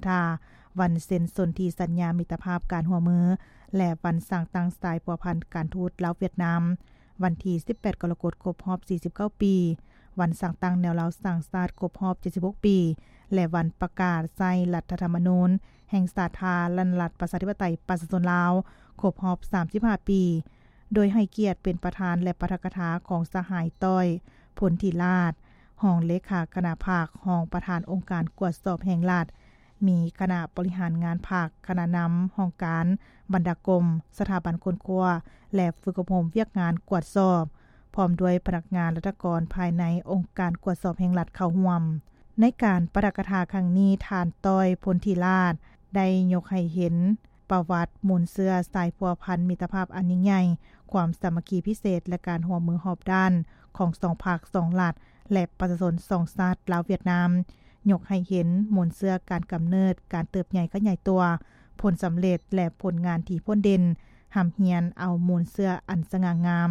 ທາ, ວັນເຊັນສົນທິສັນຍາມິດຕະພາບການຮ່ວມມື ແລະ ວັນສ້າງຕັ້ງສາຍພົວພັນການທູດລາວຫວຽດນາມ, ວັນທີສິບແປດກໍລະກົດ ຄົບຮອບສີ່ສິບເກົ້າປີ, ວັນສ້າງຕັ້ງແນວລາວສ້າງຊາດຄົບຮອບເຈັດສິບຫົກປີ ແລະ ວັນປະກາດໃຊ້ລັດຖະທຳມະນູນແຫ່ງສາທາລະນະລັດ ປະຊາທິປະໄຕ ປະຊາຊົນລາວ ຄົບຮອບສາມສິບຫ້າປີ, ໂດຍໃຫ້ກຽດເປັນປະທານ ແລະ ປາຖະກະຖາຂອງສະຫາຍ ຕ້ອຍ ພົນທິລາດ, ຮອງເລຂາຄະນະພັກ, ຮອງປະທານອົງການກວດສອບແຫ່ງລັດ, ມີຄະນະບໍລິຫານງານພັກ, ຄະນະນຳຫ້ອງການ, ບັນດາກົມ, ສະຖາບັນຄົ້ນຄວ້າ ແລະ ຝຶກອົບຮົມວຽກງານກວດສອບ, ພ້ອມດ້ວຍພະນັກງານລັດຖະກອນພາຍໃນອົງການກວດສອບແຫ່ງລັດເຂົ້າຮ່ວມ. ໃນການປາຖະກະຖາຄັ້ງນີ້, ທ່ານ ຕ້ອຍ ພົນທິລາດ ໄດ້ຍົກໃຫ້ເຫັນ ປະຫວັດມູນເຊື້ອສາຍພົວພັນມິດຕະພາບອັນຍິ່ງໃຫຍ່, ຄວາມສາມັກຄີພິເສດ ແລະ ການຮ່ວມມືຮອບດ້ານຂອງສອງພັກ, ສອງລັດ ແລະ ປະຊາຊົນສອງຊາດ ລາວ-ຫວຽດນາມ, ຍົກໃຫ້ເຫັນມູນເຊື້ອການກຳເນີດ, ການເຕີບໃຫຍ່ຂະຫຍາຍຕົວ, ຜົນສຳເລັດ ແລະ ຜົນງານທີ່ພົ້ນເດັ່ນ, ຮ່ຳຮຽນເອົາມູນເຊື້ອອັນສະຫງ່າງາມ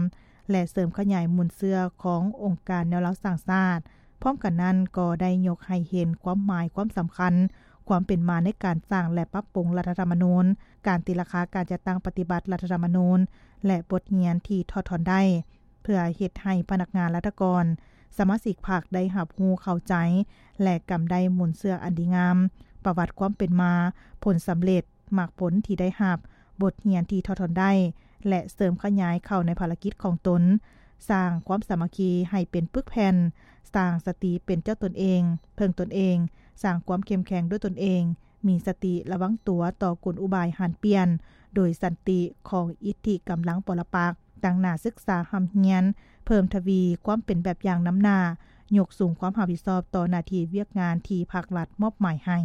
ແລະ ເສີມຂະຫຍາຍມູນເຊື້ອຂອງອົງການແນວລາວສ້າງຊາດ. ພ້ອມກັນນັ້ນກໍໄດ້ຍົກໃຫ້ເຫັນຄວາມໝາຍຄວາມສຳຄັນ ຄວາມເປັນມາໃນການສ້າງ ແລະ ປັບປຸງລັດຖະທຳມະນູນ, ການຕີລາຄາການຈັດຕັ້ງປະຕິບັດລັດຖະທຳມະນູນ ແລະ ບົດຮຽນທີ່ຖອດຖອນໄດ້ ເພື່ອເຮັດໃຫ້ພະນັກງານລັດຖະກອນ, ສະມາຊິກພັກໄດ້ຮັບຮູ້ເຂົ້າໃຈ ແລະ ກຳໄດ້ມູນເຊື້ອອັນດີງາມ, ປະຫວັດຄວາມເປັນມາ, ຜົນສຳເລັດ, ໝາກຜົນທີ່ໄດ້ຮັບ, ບົດຮຽນທີ່ຖອດຖອນໄດ້ ແລະ ເສີມຂະຫຍາຍເຂົ້າໃນພາລະກິດຂອງຕົນ, ສ້າງຄວາມສາມັກຄີໃຫ້ເປັນປຶກແຜ່ນ, ສ້າງສະຕິເປັນເຈົ້າຕົນເອງ, ເພິ່ງຕົນເອງ, ສ້າງຄວາມເຂັ້ມແຂງດ້ວຍຕົນເອງ, ມີສະຕິລະວັງຕົວຕໍ່ກົນອຸບາຍຫັນປ່ຽນໂດຍສັນຕິຂອງອິດທິກຳລັງປໍລະປັກ, ຕັ້ງໜ້າສຶກສາຮ່ຳຮຽນ, ເພີ່ມທະວີຄວາມເປັນແບບຢ່າງນຳໜ້າ, ຍົກສູງຄວາມຮັບຜິດຊອບຕໍ່ໜ້າທີ່ວຽກງານທີ່ພັກລັດມອບໝາຍໃຫ້.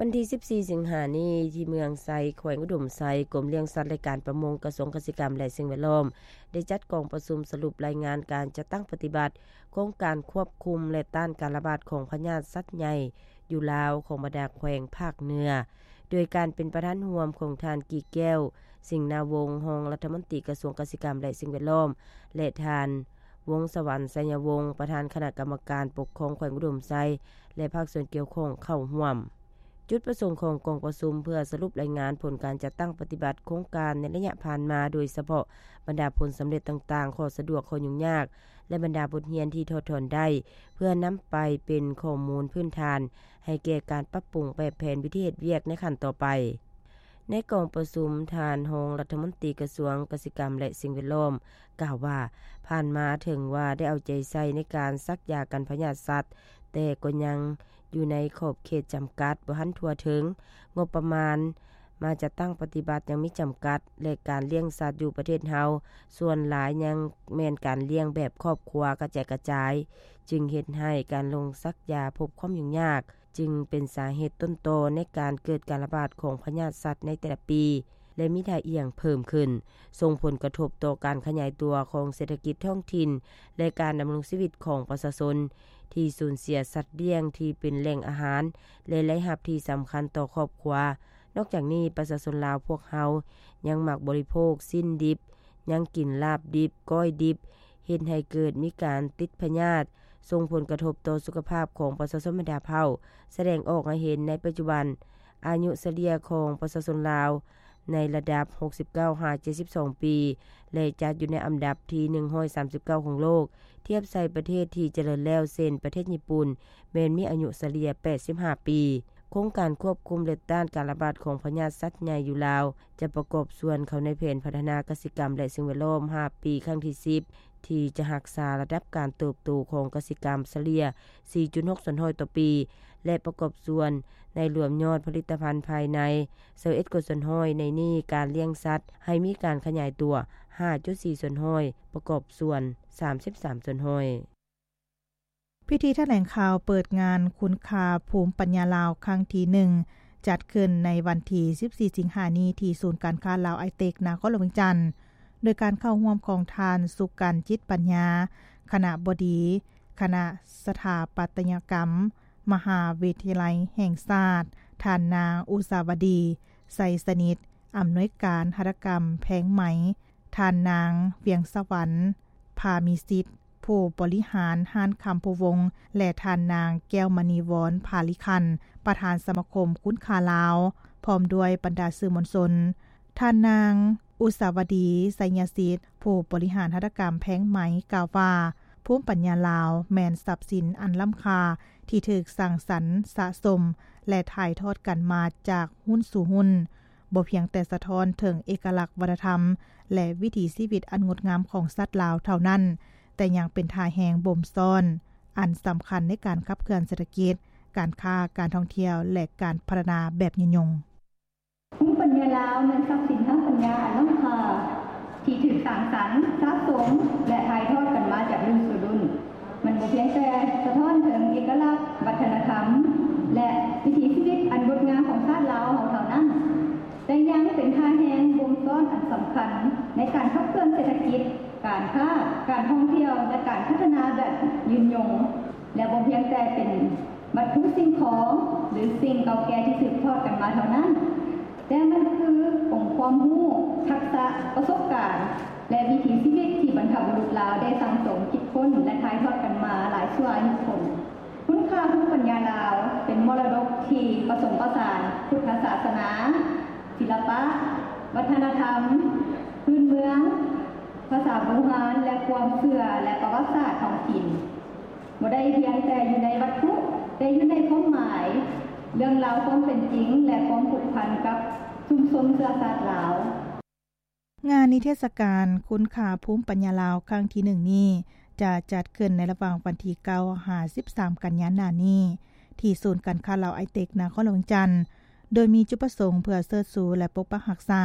ວັນທີສິບສີ່ ສິງຫານີ້ ທີ່ເມືອງໄຊ ແຂວງອຸດົມໄຊ, ກົມລ້ຽງສັດ ແລະ ການປະມົງ ກະຊວງກະສິກຳ ແລະ ສິ່ງແວດລ້ອມ ໄດ້ຈັດກອງປະຊຸມສະຫຼຸບລາຍງານການຈັດຕັ້ງປະຕິບັດໂຄງການຄວບຄຸມ ແລະ ຕ້ານການລະບາດຂອງພະຍາດສັດໃຫຍ່ຢູ່ລາວ ຂອງບັນດາແຂວງພາກເໜືອ, ໂດຍການເປັນປະທານຮ່ວມຂອງທ່ານ ກີແກ້ວ ສິງນາວົງ ຮອງລັດຖະມົນຕີກະຊວງກະສິກຳ ແລະ ສິ່ງແວດລ້ອມ ແລະ ທ່ານ ວົງສະຫວັນ ໄຊຍະວົງ ປະທານຄະນະກຳມະການປົກຄອງແຂວງອຸດົມໄຊ ແລະ ພາກສ່ວນກ່ຽວຂ້ອງເຂົ້າຮ່ວມ. ຈຸດປະສົງຂອງກອງປະຊຸມເພື່ອສະຫຼຸບລາຍງານຜົນການຈັດຕັ້ງປະຕິບັດໂຄງການໃນໄລຍະຜ່ານມາ, ໂດຍສະເພາະບັນດາຜົນສຳເລັດຕ່າງໆ, ຂໍ້ສະດວກ, ຂໍ້ຫຍຸ້ງຍາກ ແລະ ບັນດາບົດຮຽນທີ່ຖອດຖອນໄດ້, ເພື່ອນຳໄປເປັນຂໍ້ມູນພື້ນຖານໃຫ້ແກ່ການປັບປຸງແບບແຜນວິທີເຮັດວຽກໃນຂັ້ນຕໍ່ໄປ. ໃນກອງປະຊຸມ, ທ່ານຮອງລັດຖະມົນຕີກະຊວງກະສິກຳ ແລະ ສິ່ງແວດລ້ອມ ກ່າວວ່າ, ຜ່ານມາເຖິງວ່າໄດ້ເອົາໃຈໃສ່ໃນການສັກຢາກັນພະຍາດສັດ, ແຕ່ກໍຍັງຢູ່ໃນຂອບເຂດຈຳກັດ, ບໍ່ທັນທົ່ວເຖິງ, ງົບປະມານມາຈັດຕັ້ງປະຕິບັດຍັງມີຈຳກັດ ແລະ ການລ້ຽງສັດຢູ່ປະເທດເຮົາ ສ່ວນຫຼາຍຍັງແມ່ນການລ້ຽງແບບຄອບຄົວກະແຈກກະຈາຍ, ຈຶ່ງເຮັດໃຫ້ການລົງສັກຢາພົບຄວາມຫຍຸ້ງຍາກ. ຈຶ່ງເປັນສາເຫດຕົ້ນຕໍໃນການເກີດການລະບາດຂອງພະຍາດສັດໃນແຕ່ລະປີ ແລະ ມີທ່າອ່ຽງເພີ່ມຂຶ້ນ, ສົ່ງຜົນກະທົບຕໍ່ການຂະຫຍາຍຕົວຂອງເສດຖະກິດທ້ອງຖິ່ນ ແລະ ການດຳລົງຊີວິດຂອງປະຊາຊົນ ທີ່ສູນເສຍສັດລ້ຽງທີ່ເປັນແຫຼ່ງອາຫານ ແລະ ລາຍຮັບທີ່ສຳຄັນຕໍ່ຄອບຄົວ. ນອກຈາກນີ້, ປະຊາຊົນລາວພວກເຮົາຍັງມັກບໍລິໂພກຊີ້ນດິບ, ຍັງກິນລາບດິບ, ກ້ອຍດິບ, ເຮັດໃຫ້ເກີດມີການຕິດພະຍາດ, ສົ່ງຜົນກະທົບຕໍ່ສຸຂະພາບຂອງປະຊາຊົນບັນດາເຜົ່າ, ສະແດງອອກໃຫ້ເຫັນໃນປັດຈຸບັນ. ອາຍຸສະເລ່ຍຂອງປະຊາຊົນລາວໃນລະດັບຫົກສິບເກົ້າຫາເຈັດສິບສອງປີ ແລະ ຈັດຢູ່ໃນອັນດັບທີໜຶ່ງຮ້ອຍສາມສິບເກົ້າຂອງໂລກ, ທຽບໃສ່ປະເທດທີ່ຈະເລີນແລ້ວ ເຊັ່ນ ປະເທດຍີ່ປຸ່ນ ແມ່ນມີອາຍຸສະເລ່ຍແປດສິບຫ້າປີ. ໂຄງການຄວບຄຸມ ແລະ ຕ້ານການລະບາດຂອງພະຍາດສັດໃຫຍ່ຢູ່ລາວ ຈະປະກອບສ່ວນເຂົ້າໃນແຜນພັດທະນາກະສິກຳ ແລະ ສິ່ງແວດລ້ອມຫ້າປີ ຄັ້ງທີສິບ ທີ່ຈະຮັກສາລະດັບການເຕີບໂຕຂອງກະສິກຳສະເລ່ຍສີ່ຈຸດຫົກສ່ວນຮ້ອຍຕໍ່ປີ ແລະ ປະກອບສ່ວນໃນລວມຍອດຜະລິດຕະພັນພາຍໃນຊາວເອັດກວ່າສ່ວນຮ້ອຍ, ໃນນີ້ການລ້ຽງສັດໃຫ້ມີການຂະຫຍາຍຕົວຫ້າຈຸດສີ່ສ່ວນຮ້ອຍ, ປະກອບສ່ວນສາມສິບສາມສ່ວນຮ້ອຍ. ພິທີຖະແຫຼງຂ່າວເປີດງານຄຸນຄ່າພູມປັນຍາລາວຄັ້ງທີໜຶ່ງ ຈັດຂຶ້ນໃນວັນທີສິບສີ່ ສິງຫານີ້ ທີ່ສູນການຄ້າລາວໄອເຕັກ ນະຄອນຫຼວງວຽງຈັນ, ໂດຍການເຂົ້າຮ່ວມຂອງທ່ານ ສຸກັນ ຈິດປັນຍາ ຄະນະບໍດີຄະນະສະຖາປັດຕະຍະກຳ ມະຫາວິທະຍາໄລແຫ່ງຊາດ, ທ່ານນາງ ອຸສາວະດີ ໄຊສະໜິດ ອຳນວຍການຫັດຖະກຳແພງໄໝ, ທ່ານນາງ ວຽງສະຫວັນ ພາມີສິດ ຜູ້ ຜູ້ບໍລິຫານຮ້ານຄຳພູວົງ ແລະ ທ່ານນາງ ແກ້ວມະນີວອນ ພາລິຄັນ ປະທານສະມາຄົມຄຸນຄ້າລາວ ພ້ອມດ້ວຍບັນດາສື່ມວນຊົນ. ທ່ານນາງ ອຸດສາວະດີ ໄຊຍະສິດ ຜູ້ບໍລິຫານຫັດຖະກຳແພງໄມ້ ກ່າວວ່າ ພູມປັນຍາລາວແມ່ນຊັບສິນອັນລ້ຳຄ່າທີ່ຖືກສ້າງສັນສະສົມ ແລະ ຖ່າຍທອດກັນມາຈາກຮຸ່ນສູ່ຮຸ່ນ, ບໍ່ພຽງແຕ່ສະທ້ອນເຖິງເອກະລັກວັດທະນະທຳ ແລະ ວິຖີຊີວິດອັນງົດງາມຂອງຊາດລາວເທົ່ານັ້ນ, ແຕ່ຍັງເປັນທ່າແຮງບົ່ມຊ້ອນອັນສຳຄັນໃນການຂັບເຄື່ອນເສດຖະກິດ, ການຄ້າ, ການທ່ອງທ່ຽວ ແລະ ການພັດທະນາແບບຍືນຍົງ. ພູມປັນຍາລາວແມ່ນຊັບສິນທາງປັນຍາອັນລ້ຳຄ່າ ທີ່ຖືກສ້າງສັນ, ສະສົມ ແລະ ຖ່າຍທອດກັນມາຈາກລຸ້ນສູ່ລຸ້ນ. ມັນບໍ່ພຽງແຕ່ສະທ້ອນເຖິງເອກະລັກວັດທະນະທຳ ແລະ ວິຖີຊີວິດອັນງົດງາມຂອງຊາດລາວເຮົາເທົ່ານັ້ນ, ແຕ່ຍັງເປັນທ່າແຮງບົ່ມຊ້ອນອັນສຳຄັນໃນການຂັບເຄື່ອນເສດຖະກິດ, ການຄ້າ, ການທ່ອງທ່ຽວ ແລະ ການພັດທະນາແບບຍືນຍົງ ແລະ ບໍ່ພຽງແຕ່ເປັນວັດຖຸສິ່ງຂອງ ຫຼື ສິ່ງເກົ່າແກ່ທີ່ສືບທອດກັນມາເທົ່ານັ້ນ, ແຕ່ມັນຄືອົງຄວາມຮູ້, ທັກສະ, ປະສົບການ ແລະ ວິຖີຊີວິດທີ່ບັນພະບຸລຸດລາວໄດ້ສັ່ງສົມ, ຄິດຄົ້ນ ແລະ ຖ່າຍທອດກັນມາຫຼາຍຊົ່ວອາຍຸຄົນ. ຄຸນຄ່າພູມປັນຍາລາວເປັນມໍລະດົກທີ່ປະສົມປະສານພຸດທະສາສະໜາ, ສິລະປະ, ວັດທະນະທຳ, ພື້ນເມືອງ, ພາສາບູຮານ ແລະ ຄວາມເຊື່ອ ແລະ ປະຫວັດສາດທ້ອງຖິ່ນ. ບໍ່ໄດ້ພຽງແຕ່ຢູ່ໃນວັດຖຸ, ແຕ່ຢູ່ໃນຄວາມໝາຍ, ເລື່ອງລາວຄວາມເປັນຈິງ ແລະ ຄວາມຜູກພັນກັບຊຸມຊົນເຊື້ອຊາດລາວ. ງານນິເທດສະການຄຸນຄ່າພູມປັນຍາລາວຄັ້ງທີໜຶ່ງນີ້ ຈະຈັດຂຶ້ນໃນລະຫວ່າງວັນທີເກົ້າຫາສິບສາມກັນຍາໜ້ານີ້ ທີ່ສູນການຄ້າລາວໄອເຕັກ ນະຄອນຫຼວງວຽງຈັນ, ໂດຍມີຈຸດປະສົງເພື່ອເຊີດຊູ ແລະ ປົກປັກຮັກສາ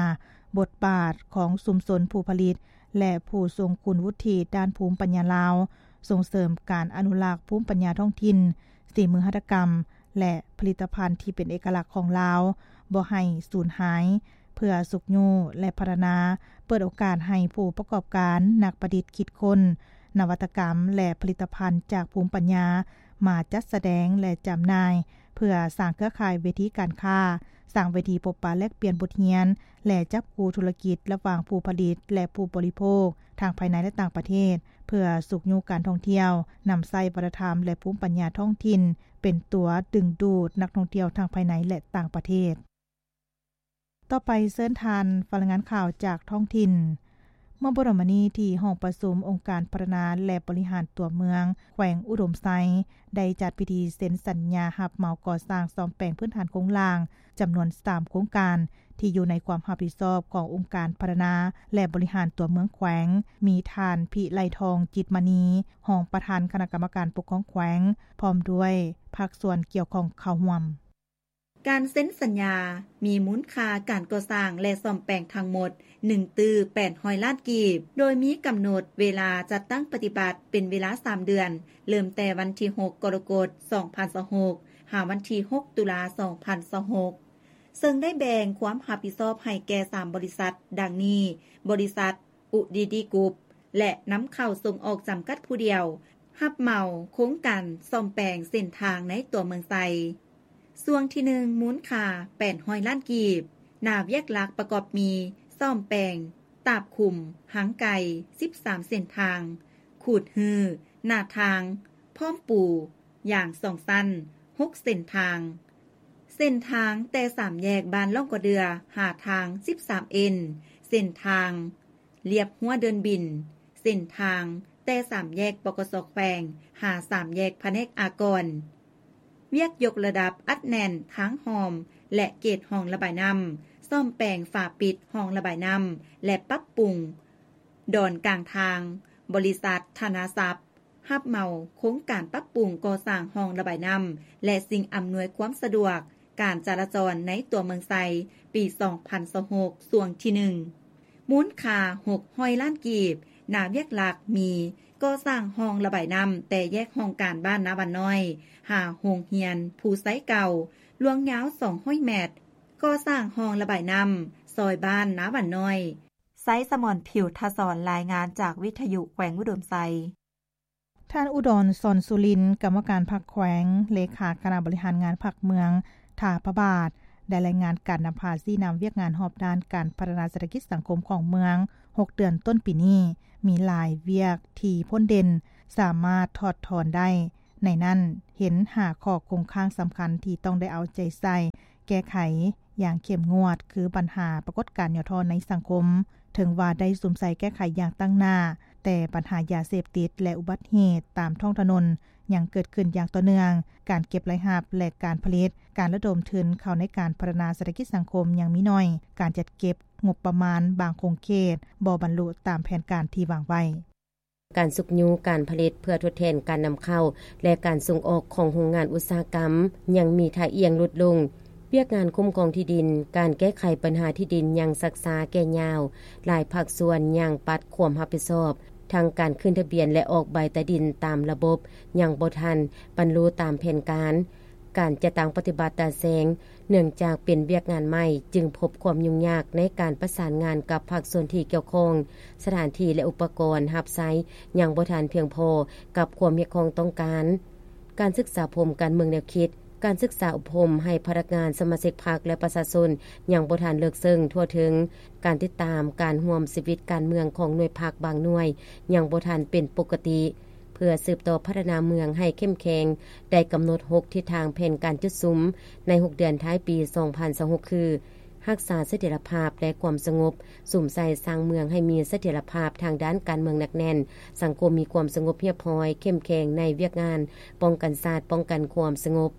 ບົດບາດຂອງຊຸມຊົນຜູ້ຜະລິດ ແລະ ຜູ້ຊົງຄຸນວຸດທິດ້ານພູມປັນຍາລາວ, ສົ່ງເສີມການອະນຸລັກພູມປັນຍາທ້ອງຖິ່ນ, ສີມືຫັດຖະກຳ ແລະ ຜະລິດຕະພັນທີ່ເປັນເອກະລັກຂອງລາວ ບໍ່ໃຫ້ສູນຫາຍ, ເພື່ອຊຸກຍູ້ ແລະ ພັດທະນາ, ເປີດໂອກາດໃຫ້ຜູ້ປະກອບການ, ນັກປະດິດຄິດຄົ້ນ, ນະວັດຕະກຳ ແລະ ຜະລິດຕະພັນຈາກພູມປັນຍາ ມາຈັດສະແດງ ແລະ ຈຳໜ່າຍ, ເພື່ອສ້າງເຄືອຂ່າຍເວທີການຄ້າ, ສ້າງເວທີພົບປະແລກປ່ຽນບົດຮຽນ ແລະ ຈັບຄູ່ທຸລະກິດລະຫວ່າງຜູ້ຜະລິດ ແລະ ຜູ້ບໍລິໂພກ ທັງພາຍໃນ ແລະ ຕ່າງປະເທດ, ເພື່ອຊຸກຍູ້ການທ່ອງທ່ຽວ, ນຳໃຊ້ວັດທະນະທຳ ແລະ ພູມປັນຍາທ້ອງຖິ່ນ ເປັນຕົວດຶງດູດນັກທ່ອງທ່ຽວທັງພາຍໃນ ແລະ ຕ່າງປະເທດ. ຕໍ່ໄປເຊີນທ່ານຟັງລາຍງານຂ່າວຈາກທ້ອງຖິ່ນ. ເມື່ອບໍ່ດົນມານີ້ ທີ່ຫ້ອງປະຊຸມອົງການພັດທະນາ ແລະ ບໍລິຫານຕົວເມືອງແຂວງອຸດົມໄຊ ໄດ້ຈັດພິທີເຊັນສັນຍາຮັບເໝົາກໍ່ສ້າງສ້ອມແປງພື້ນຖານໂຄງລ່າງ ຈຳນວນສາມໂຄງການ ທີ່ຢູ່ໃນຄວາມຮັບຜິດຊອບຂອງອົງການພັດທະນາ ແລະ ບໍລິຫານຕົວເມືອງແຂວງ, ມີທ່ານ ພິໄລທອງ ຈິດມະນີ ຮອງປະທານຄະນະກຳມະການປົກຄອງແຂວງ ພ້ອມດ້ວຍພາກສ່ວນກ່ຽວຂ້ອງເຂົ້າຮ່ວມ. ການເຊັນສັນຍາມີມູນຄ່າການກໍ່ສ້າງ ແລະ ສ້ອມແປງທັງໝົດ ໜຶ່ງຕື້ແປດຮ້ອຍລ້ານກີບ, ໂດຍມີກຳນົດເວລາຈັດຕັ້ງປະຕິບັດເປັນເວລາສາມເດືອນ, ເລີ່ມແຕ່ວັນທີຫົກ ກໍລະກົດ ສອງພັນຊາວຫົກ ຫາວັນທີຫົກ ຕຸລາ ສອງພັນຊາວຫົກ ເຊິ່ງໄດ້ແບ່ງຄວາມຮັບຜິດຊອບໃຫ້ແກ່ສາມບໍລິສັດ ດັ່ງນີ້: ບໍລິສັດ ອຸດີດີກຸບ ແລະ ນຳເຂົ້າສົ່ງອອກຈຳກັດຜູ້ດຽວ ຮັບເໝົາໂຄງການສ້ອມແປງເສັ້ນທາງໃນຕົວເມືອງໄຊ. ຊ່ວງທີໜຶ່ງ ມູນຄ່າແປດຮ້ອຍລ້ານກີບ, ໜ້າວຽກຫຼັກປະກອບມີ ສ້ອມແປງຕາບຂຸມ, ຫາງໄກ່ ສິບສາມເສັ້ນທາງ, ຂູດຮື້ໜ້າທາງ, ພ້ອມປູຢາງສອງຊັ້ນ ຫົກເສັ້ນທາງ, ເສັ້ນທາງແຕ່ສາມແຍກບ້ານລ່ອງກະເດື່ອ ຫາທາງສິບສາມເອັນ, ເສັ້ນທາງ ລຽບຮົ້ວເດີ່ນບິນ, ເສັ້ນທາງແຕ່ສາມແຍກ ປກສ ແຂວງ ຫາສາມແຍກພະແນກອາກອນ, ວຽກຍົກລະດັບອັດແໜ້ນທາງຮ່ອມ ແລະ ເກດຮ່ອງລະບາຍນ້ຳ, ສ້ອມແປງຝາປິດຮ່ອງລະບາຍນ້ຳ ແລະ ປັບປຸງດອນກາງທາງ. ບໍລິສັດ ທະນາຊັບ ຮັບເໝົາໂຄງການປັບປຸງກໍ່ສ້າງຮ່ອງລະບາຍນ້ຳ ແລະ ສິ່ງອຳນວຍຄວາມສະດວກການຈະລາຈອນໃນຕົວເມືອງໄຊ ປີສອງພັນຊາວຫົກ ຊ່ວງທີໜຶ່ງ ມູນຄ່າຫົກຮ້ອຍລ້ານກີບ, ໜ້າວຽກຫຼັກມີ: ກໍ່ສ້າງຮ່ອງລະບາຍນ້ຳແຕ່ແຍກຫ້ອງການບ້ານນາຫວານນ້ອຍ ຫາໂຮງຮຽນພູໄຊເກົ່າ, ລວງຍາວສອງຮ້ອຍແມັດ, ກໍ່ສ້າງຮ່ອງລະບາຍນ້ຳຊອຍບ້ານນາຫວານນ້ອຍ. ໄຊສະໝອນ ຜິວທະສອນ ລາຍງານຈາກວິທະຍຸແຂວງອຸດົມໄຊ. ທ່ານ ອຸດອນ ສອນສຸລິນ ກຳມະການພັກແຂວງ, ເລຂາຄະນະບໍລິຫານງານພັກເມືອງທ່າພະບາດ ໄດ້ລາຍງານການນຳພາຊີ້ນຳວຽກງານຮອບດ້ານການພັດທະນາເສດຖະກິດສັງຄົມຂອງເມືອງ ຫົກເດືອນຕົ້ນປີນີ້ ມີຫຼາຍວຽກທີ່ພົ້ນເດັ່ນ, ສາມາດຖອດຖອນໄດ້. ໃນນັ້ນເຫັນຫ້າຂໍ້ຄົງຄ້າງສຳຄັນທີ່ຕ້ອງໄດ້ເອົາໃຈໃສ່ແກ້ໄຂຢ່າງເຂັ້ມງວດ ຄືບັນຫາປາກົດການຫຍໍ້ທໍ້ໃນສັງຄົມ. ເຖິງວ່າໄດ້ສຸມໃສ່ແກ້ໄຂຢ່າງຕັ້ງໜ້າ, ແຕ່ບັນຫາຢາເສບຕິດ ແລະ ອຸບັດເຫດຕາມທ້ອງຖະໜົນຍັງເກີດຂຶ້ນຢ່າງຕໍ່ເນື່ອງ, ການເກັບລາຍຮັບ ແລະ ການຜະລິດ, ການລະດົມທຶນເຂົ້າໃນການພັດທະນາເສດຖະກິດສັງຄົມຍັງມີໜ້ອຍ, ການຈັດເກັບງົບປະມານບາງຂົງເຂດບໍ່ບັນລຸຕາມແຜນການທີ່ວາງໄວ້. ການຊຸກຍູ້ການຜະລິດເພື່ອທົດແທນການນຳເຂົ້າ ແລະ ການສົ່ງອອກຂອງໂຮງງານອຸດສາຫະກຳຍັງມີທ່າອ່ຽງຫຼຸດລົງ. ວຽກງານຄຸ້ມຄອງທີ່ດິນ, ການແກ້ໄຂບັນຫາທີ່ດິນຍັງຊັກຊ້າແກ່ຍາວ, ຫຼາຍພາກສ່ວນຍັງປັດຄວາມຮັບຜິດຊອບ, ທັງການຂຶ້ນທະບຽນ ແລະ ອອກໃບຕາດິນຕາມລະບົບຍັງບໍ່ທັນບັນລຸຕາມແຜນການ. ການຈັດຕັ້ງປະຕິບັດຕາແສງ ເນື່ອງຈາກເປັນວຽກງານໃໝ່, ຈຶ່ງພົບຄວາມຫຍຸ້ງຍາກໃນການປະສານງານກັບພາກສ່ວນທີ່ກ່ຽວຂ້ອງ. ສະຖານທີ່ ແລະ ອຸປະກອນຮັບໃຊ້ຍັງບໍ່ທັນພຽງພໍກັບຄວາມຮຽກຮ້ອງຕ້ອງການ. ການສຶກສາອົບຮົມການເມືອງແນວຄິດ, ການສຶກສາອົບຮົມໃຫ້ພະນັກງານ, ສະມາຊິກພັກ ແລະ ປະຊາຊົນຍັງບໍ່ທັນເລິກເຊິ່ງທົ່ວເຖິງ. ການຕິດຕາມການຮ່ວມຊີວິດການເມືອງຂອງໜ່ວຍພັກບາງໜ່ວຍຍັງບໍ່ທັນເປັນປົກກະຕິ. ເພື່ອສືບຕໍ່ພັດທະນາເມືອງໃຫ້ເຂັ້ມແຂງ, ໄດ້ກຳນົດຫົກທິດທາງແຜນການຈຸດສຸມໃນຫົກເດືອນທ້າຍປີສອງພັນຊາວຫົກ ຄື: ຮັກສາສະຖຽນລະພາບ ແລະ ຄວາມສະຫງົບ, ສຸມໃສ່ສ້າງເມືອງໃຫ້ມີສະຖຽນລະພາບທາງດ້ານການເມືອງໜັກແໜ້ນ, ສັງຄົມມີຄວາມສະຫງົບຮຽບຮ້ອຍ, ເຂັ້ມແຂງໃນວຽກງານປ້ອງກັນຊາດ, ປ້ອງກັນຄວາມສະຫງົບ,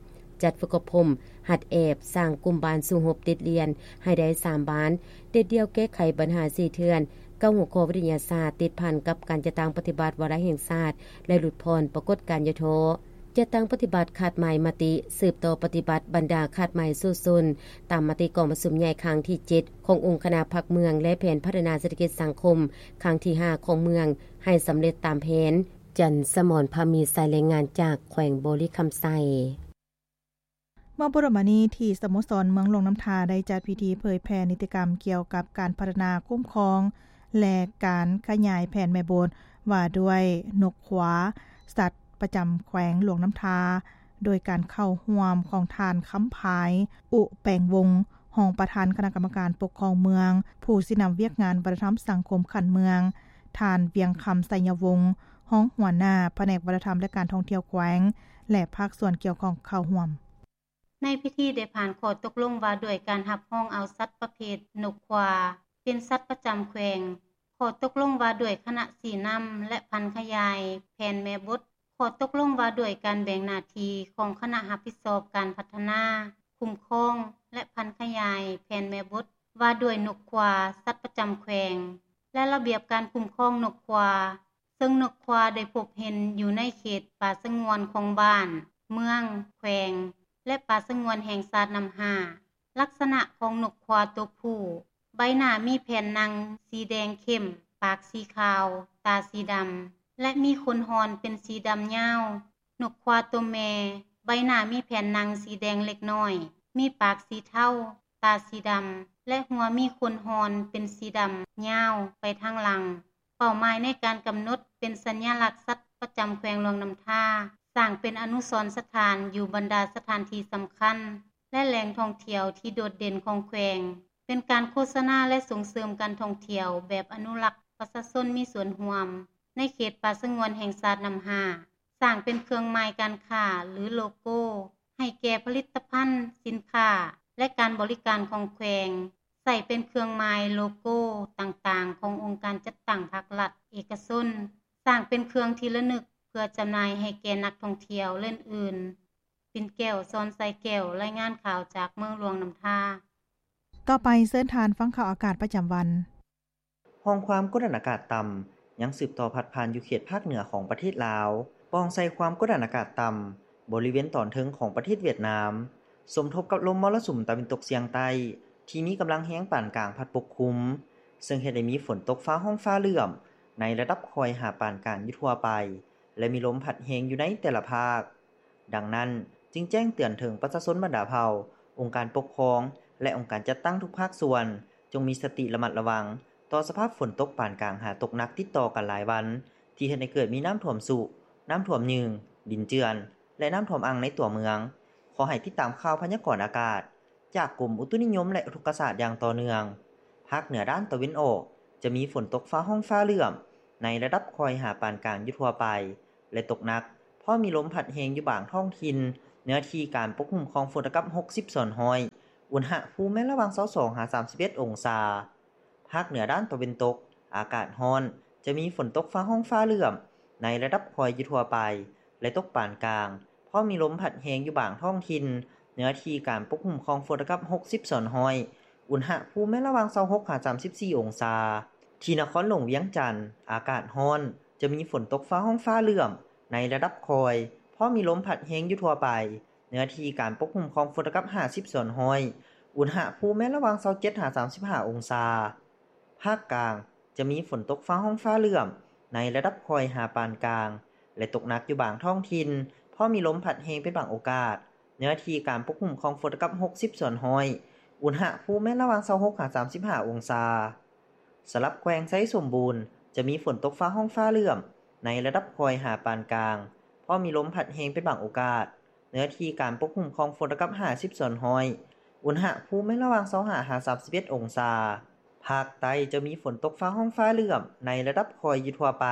ຈັດຝຶກອົບຮົມ, ຫັດແອບ, ສ້າງກຸ່ມບ້ານສູ້ຮົບເດັດດ່ຽນໃຫ້ໄດ້ສາມບ້ານ, ເດັດດ່ຽວແກ້ໄຂບັນຫາສີ່ເທື່ອນ, ເກົ້າຫົວຂໍ້ວິທະຍາສາດຕິດພັນກັບການຈັດຕັ້ງປະຕິບັດວາລະແຫ່ງຊາດ ແລະ ຫຼຸດຜ່ອນປາກົດການຫຍໍ້ທໍ້. ຈັດຕັ້ງປະຕິບັດຄາດໝາຍມະຕິ, ສືບຕໍ່ປະຕິບັດບັນດາຄາດໝາຍສູ້ຊົນ ຕາມມະຕິກອງປະຊຸມໃຫຍ່ຄັ້ງທີເຈັດ ຂອງອົງຄະນະພັກເມືອງ ແລະ ແຜນພັດທະນາເສດຖະກິດສັງຄົມຄັ້ງທີຫ້າຂອງເມືອງ ໃຫ້ສຳເລັດຕາມແຜນ. ຈັນສະໝອນ ພາມີໄຊ, ລາຍງານຈາກແຂວງບໍລິຄຳໄຊ. ເມື່ອບໍ່ດົນມານີ້ ທີ່ສະໂມສອນເມືອງຫຼວງນ້ຳທາໄດ້ຈັດພິທີເຜີຍແຜ່ນິຕິກຳກ່ຽວກັບການພັດທະນາ, ຄຸ້ມຄອງ ແລະ ການຂະຫຍາຍແຜນແມ່ບົດວ່າດ້ວຍນົກຄວາ, ສັດປະຈຳແຂວງຫຼວງນ້ຳທາ, ໂດຍການເຂົ້າຮ່ວມຂອງທ່ານ ຄຳພາຍ ອຸແປງວົງ ຮອງປະທານຄະນະກຳມະການປົກຄອງເມືອງ, ຜູ້ຊີ້ນຳວຽກງານວັດທະນະທຳສັງຄົມຂັ້ນເມືອງ, ທ່ານ ວຽງຄຳ ໄຊຍະວົງ ຮອງຫົວໜ້າພະແນກວັດທະນະທຳ ແລະ ການທ່ອງທ່ຽວແຂວງ ແລະ ພາກສ່ວນກ່ຽວຂ້ອງເຂົ້າຮ່ວມ. ໃນພິທີໄດ້ຜ່ານຂໍ້ຕົກລົງວ່າດ້ວຍການຮັບຮອງເອົາສັດປະເພດນົກຄວາ ເປັນສັດປະຈຳແຂວງ, ຂໍ້ຕົກລົງວ່າດ້ວຍຄະນະຊີ້ນຳ ແລະ ຜັນຂະຫຍາຍແຜນແມ່ບົດ, ຂໍ້ຕົກລົງວ່າດ້ວຍການແບ່ງໜ້າທີ່ຂອງຄະນະຮັບຜິດຊອບການພັດທະນາ, ຄຸ້ມຄອງ ແລະ ຜັນຂະຫຍາຍແຜນແມ່ບົດ ວ່າດ້ວຍນົກຄວາ ສັດປະຈຳແຂວງ ແລະ ລະບຽບການຄຸ້ມຄອງນົກຄວາ, ເຊິ່ງນົກຄວາໄດ້ພົບເຫັນຢູ່ໃນເຂດປ່າສະຫງວນຂອງບ້ານ, ເມືອງ, ແຂວງ ແລະ ປ່າສະຫງວນແຫ່ງຊາດນ້ຳຫ້າ. ລັກສະນະຂອງນົກຄວາຕົວຜູ້, ໃບໜ້າມີແຜ່ນໜັງສີແດງເຂັ້ມ, ປາກສີຂາວ, ຕາສີດຳ ແລະ ມີຂົນຮ່ອນເປັນສີດຳຍາວ. ນົກຄວາຕົວແມ່, ໃບໜ້າມີແຜ່ນໜັງສີແດງເລັກນ້ອຍ, ມີປາກສີເທົາ, ຕາສີດຳ ແລະ ຫົວມີຂົນຮ່ອນເປັນສີດຳຍາວໄປທາງຫຼັງ. ເປົ້າໝາຍໃນການກຳນົດເປັນສັນຍະລັກສັດປະຈຳແຂວງຫຼວງນ້ຳທາ, ສ້າງເປັນອະນຸສອນສະຖານຢູ່ບັນດາສະຖານທີ່ສຳຄັນ ແລະ ແຫຼ່ງທ່ອງທ່ຽວທີ່ໂດດເດັ່ນຂອງແຂວງ, ເປັນການໂຄສະນາ ແລະ ສົ່ງເສີມການທ່ອງທ່ຽວແບບອະນຸລັກປະຊາຊົນມີສ່ວນຮ່ວມ ໃນເຂດປ່າສະຫງວນແຫ່ງຊາດນ້ຳຫ້າ, ສ້າງເປັນເຄື່ອງໝາຍການຄ້າ ຫຼື ໂລໂກ້ ໃຫ້ແກ່ຜະລິດຕະພັນ, ສິນຄ້າ ແລະ ການບໍລິການຂອງແຂວງ, ໃຊ້ເປັນເຄື່ອງໝາຍໂລໂກ້ຕ່າງໆຂອງອົງການຈັດຕັ້ງພາກລັດ, ເອກະຊົນ, ສ້າງເປັນເຄື່ອງທີ່ລະນຶກເພື່ອຈຳໜ່າຍໃຫ້ແກ່ນັກທ່ອງທ່ຽວ ແລະ ອື່ນໆ. ປິ່ນແກ້ວ ສອນໄຊແກ້ວ, ລາຍງານຂ່າວຈາກເມືອງຫຼວງນ້ຳທາ. ຕໍ່ໄປເຊີນທ່ານຟັງຂ່າວອາກາດປະຈຳວັນ. ຮ່ອງຄວາມກົດດັນອາກາດຕ່ຳຍັງສືບຕໍ່ພັດຜ່ານຢູ່ເຂດພາກເໜືອຂອງປະເທດລາວ, ປ່ອງໃສ່ຄວາມກົດດັນອາກາດຕ່ຳບໍລິເວນຕອນເທິງຂອງປະເທດຫວຽດນາມ ສົມທົບກັບລົມມໍລະສຸມຕາເວັນຕົກສຽງໃຕ້ທີ່ມີກຳລັງແຮງປານກາງພັດປົກຄຸມ, ເຊິ່ງເຮັດໃຫ້ມີຝົນຕົກຟ້າຮ້ອງຟ້າເຫຼື້ອມໃນລະດັບຄ່ອຍຫາປານກາງຢູ່ທົ່ວໄປ ແລະ ມີລົມພັດແຮງຢູ່ໃນແຕ່ລະພາກ. ດັ່ງນັ້ນ, ຈຶ່ງແຈ້ງເຕືອນເຖິງປະຊາຊົນບັນດາເຜົ່າ, ອົງການປົກຄອງ ແລະ ອົງການຈັດຕັ້ງທຸກພາກສ່ວນ ຈົ່ງມີສະຕິລະມັດລະວັງຕໍ່ສະພາບຝົນຕົກປານກາງຫາຕົກໜັກຕິດຕໍ່ກັນຫຼາຍວັນ ທີ່ເຮັດໃຫ້ເກີດມີນ້ຳຖ້ວມຊຸ, ນ້ຳຖ້ວມຍືງ, ດິນເຈື່ອນ ແລະ ນ້ຳຖ້ວມອັ່ງໃນຕົວເມືອງ. ຂໍໃຫ້ຕິດຕາມຂ່າວພະຍາກອນອາກາດຈາກກົມອຸຕຸນິຍົມ ແລະ ອຸທົກກະສາດຢ່າງຕໍ່ເນື່ອງ. ພາກເໜືອດ້ານຕາເວັນອອກ ຈະມີຝົນຕົກຟ້າຮ້ອງຟ້າເຫຼື້ອມໃນລະດັບຄ່ອຍຫາປານກາງຢູ່ທົ່ວໄປ, ແລະ ຕົກໜັກ, ພ້ອມມີລົມພັດແຮງຢູ່ບາງທ້ອງຖິ່ນ, ເນື້ອທີ່ການປົກຄຸມຂອງຝົນເທົ່າກັບຫົກສິບສ່ວນຮ້ອຍ, ອຸນຫະພູມແມ່ນລະຫວ່າງຊາວສອງຫາສາມສິບເອັດອົງສາ. ພາກເໜືອດ້ານຕາເວັນຕົກ, ອາກາດຮ້ອນ, ຈະມີຝົນຕົກຟ້າຮ້ອງຟ້າເຫຼື້ອມໃນລະດັບຄ່ອຍຢູ່ທົ່ວໄປ ແລະ ຕົກປານກາງ, ພ້ອມມີລົມພັດແຮງຢູ່ບາງທ້ອງຖິ່ນ, ເນື້ອທີ່ການປົກຄຸມຂອງຝົນເທົ່າກັບຫົກສິບສ່ວນຮ້ອຍ, ອຸນຫະພູມແມ່ນລະຫວ່າງຊາວຫົກຫາສາມສິບສີ່ອົງສາ. ທີ່ນະຄອນຫຼວງວຽງຈັນ, ອາກາດຮ້ອນ, ຈະມີຝົນຕົກຟ້າຮ້ອງຟ້າເຫຼື້ອມໃນລະດັບຄ່ອຍ, ພ້ອມມີລົມພັດແຮງຢູ່ທົ່ວໄປ, ເນື້ອທີ່ການປົກຄຸມຂອງຝົນເທົ່າກັບຫ້າສິບສ່ວນຮ້ອຍ, ອຸນຫະພູມແມ່ນລະຫວ່າງຊາວເຈັດຫາສາມສິບຫ້າອົງສາ. ພາກກາງ, ຈະມີຝົນຕົກຟ້າຮ້ອງຟ້າເຫຼື້ອມໃນລະດັບຄ່ອຍຫາປານກາງ ແລະ ຕົກໜັກຢູ່ບາງທ້ອງຖິ່ນ, ພ້ອມມີລົມພັດແຮງເປັນບາງໂອກາດ, ເນື້ອທີ່ການປົກຄຸມຂອງຝົນເທົ່າກັບຫົກສິບສ່ວນຮ້ອຍ, ອຸນຫະພູມແມ່ນລະຫວ່າງຊາວຫົກຫາສາມສິບຫ້າອົງສາ. ສຳລັບແຂວງໄຊສົມບູນ, ຈະມີຝົນຕົກຟ້າຮ້ອງຟ້າເຫຼື້ອມໃນລະດັບຄ່ອຍຫາປານກາງ, ພ້ອມມີລົມພັດແຮງເປັນບາງໂອກາດ, ເນື້ອທີ່ການປົກຄຸມຂອງຝົນເທົ່າກັບຫ້າສິບສ່ວນຮ້ອຍ, ອຸນຫະພູມແມ່ນລະຫວ່າງຊາວຫ້າຫາສາມສິບເອັດອົງສາ. ພາກໃຕ້ ຈະມີຝົນຕົກຟ້າຮ້ອງຟ້າເຫຼື້ອມໃນລະດັບຄ່ອຍຢູ່ທົ່ວໄປ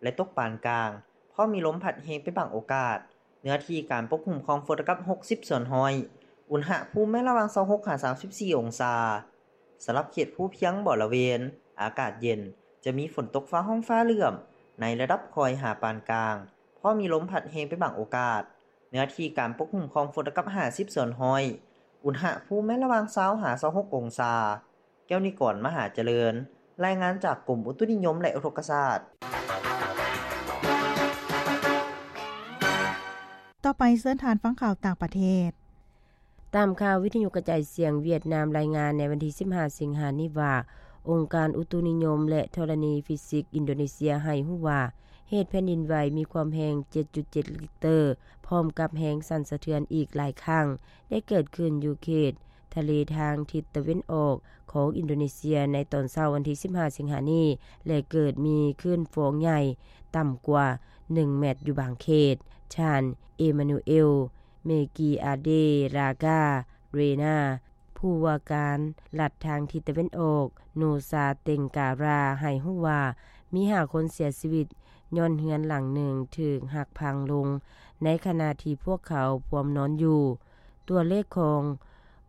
ແລະ ຕົກປານກາງ, ພ້ອມມີລົມພັດແຮງເປັນບາງໂອກາດ, ເນື້ອທີ່ການປົກຄຸມຂອງຝົນເທົ່າກັບຫົກສິບສ່ວນຮ້ອຍ, ອຸນຫະພູມແມ່ນລະຫວ່າງຊາວຫົກຫາສາມສິບສີ່ອົງສາ. ສຳລັບເຂດພູພຽງບໍລະເວນ, ອາກາດເຢັນ, ຈະມີຝົນຕົກຟ້າຮ້ອງຟ້າເຫຼື້ອມໃນລະດັບຄ່ອຍຫາປານກາງ, ພ້ອມມີລົມພັດແຮງເປັນບາງໂອກາດ, ເນື້ອທີ່ການປົກຄຸມຂອງຝົນເທົ່າກັບຫ້າສິບສ່ວນຮ້ອຍ, ອຸນຫະພູມແມ່ນລະຫວ່າງຊາວຫາຊາວຫົກອົງສາ. ແກ້ວນິກອນ ມະຫາຈະເລີນ, ລາຍງານຈາກກົມອຸຕຸນິຍົມ ແລະ ອຸທົກກະສາດ. ຕໍ່ໄປເຊີນທ່ານຟັງຂ່າວຕ່າງປະເທດ. ຕາມຂ່າວວິທະຍຸກະຈາຍສຽງຫວຽດນາມລາຍງານໃນວັນທີສິບຫ້າສິງຫານີ້ວ່າ, ອົງການອຸຕຸນິຍົມ ແລະ ທໍລະນີຟີຊິກອິນໂດເນເຊຍໃຫ້ຮູ້ວ່າ ເຫດແຜ່ນດິນໄຫວມີຄວາມແຮງເຈັດຈຸດເຈັດລິກເຕີ ພ້ອມກັບແຮງສັ່ນສະເທືອນອີກຫຼາຍຄັ້ງ ໄດ້ເກີດຂຶ້ນຢູ່ເຂດທະເລທາງທິດຕາເວັນອອກຂອງອິນໂດເນເຊຍໃນຕອນເຊົ້າວັນທີສິບຫ້າສິງຫານີ້ ແລະ ເກີດມີຄື້ນຟອງໃຫຍ່ຕ່ຳກວ່າໜຶ່ງແມັດຢູ່ບາງເຂດ. ທ່ານ ເອມານູເອລ ເມກີອາເດຣາກາເຣນາ ຜູ້ວ່າການລັດທາງທິດຕາເວັນອອກ ນູຊາເຕັງກາຣາ ໃຫ້ຮູ້ວ່າ ມີຫ້າຄົນເສຍຊີວິດຍ້ອນເຮືອນຫຼັງໜຶ່ງຖືກຫັກພັງລົງ ໃນຂະນະທີ່ພວກເຂົາພວມນອນຢູ່. ຕົວເລກຂອງ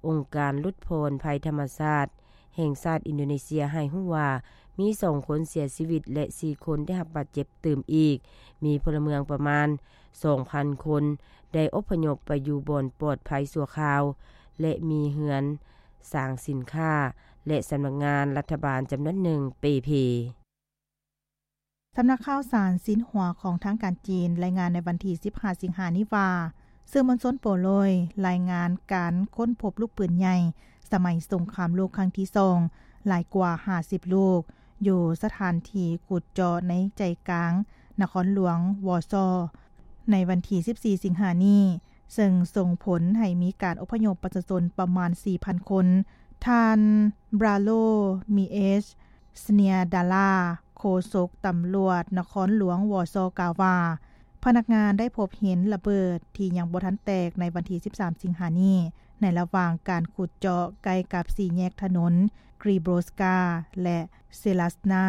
ອົງການຫຼຸດຜ່ອນໄພທຳມະຊາດແຫ່ງຊາດອິນໂດເນເຊຍໃຫ້ຮູ້ວ່າ ມີສອງຄົນເສຍຊີວິດ ແລະ ສີ່ຄົນໄດ້ຮັບບາດເຈັບຕື່ມອີກ. ມີພົນລະເມືອງປະມານສອງພັນຄົນ ໄດ້ອົບພະຍົບໄປຢູ່ບ່ອນປອດໄພຊົ່ວຄາວ ແລະ ມີເຮືອນ, ສາງສິນຄ້າ ແລະ ສຳນັກງານລັດຖະບານຈຳນວນໜຶ່ງເປ່ເພ. ສຳນັກຂ່າວສານຊິນຫົວຂອງທາງການຈີນລາຍງານໃນວັນທີສິບຫ້າສິງຫານີ້ວ່າ ສື່ມວນຊົນໂປໂລຍລາຍງານການຄົ້ນພົບລູກປືນໃຫຍ່ສະໄໝສົງຄາມໂລກຄັ້ງທີສອງ ຫຼາຍກວ່າຫ້າສິບລູກ ຢູ່ສະຖານທີ່ຂຸດເຈາະໃນໃຈກາງນະຄອນຫຼວງວໍຊໍ ໃນວັນທີສິບສີ່ສິງຫານີ້ ເຊິ່ງສົ່ງຜົນໃຫ້ມີການອົບພະຍົບປະຊາຊົນປະມານສີ່ພັນຄົນ. ທ່ານ ບຣາໂລ ມີເອຊ ສະເນຍດາລາ ໂຄສົກຕຳຫຼວດນະຄອນຫຼວງວໍຊໍ ກ່າວວ່າ ພະນັກງານໄດ້ພົບເຫັນລະເບີດທີ່ຍັງບໍ່ທັນແຕກໃນວັນທີສິບສາມສິງຫານີ້ ໃນລະຫວ່າງການຂຸດເຈາະໃກ້ກັບສີ່ແຍກຖະໜົນກຣີໂບສກາ ແລະ ເຊລາສນາ.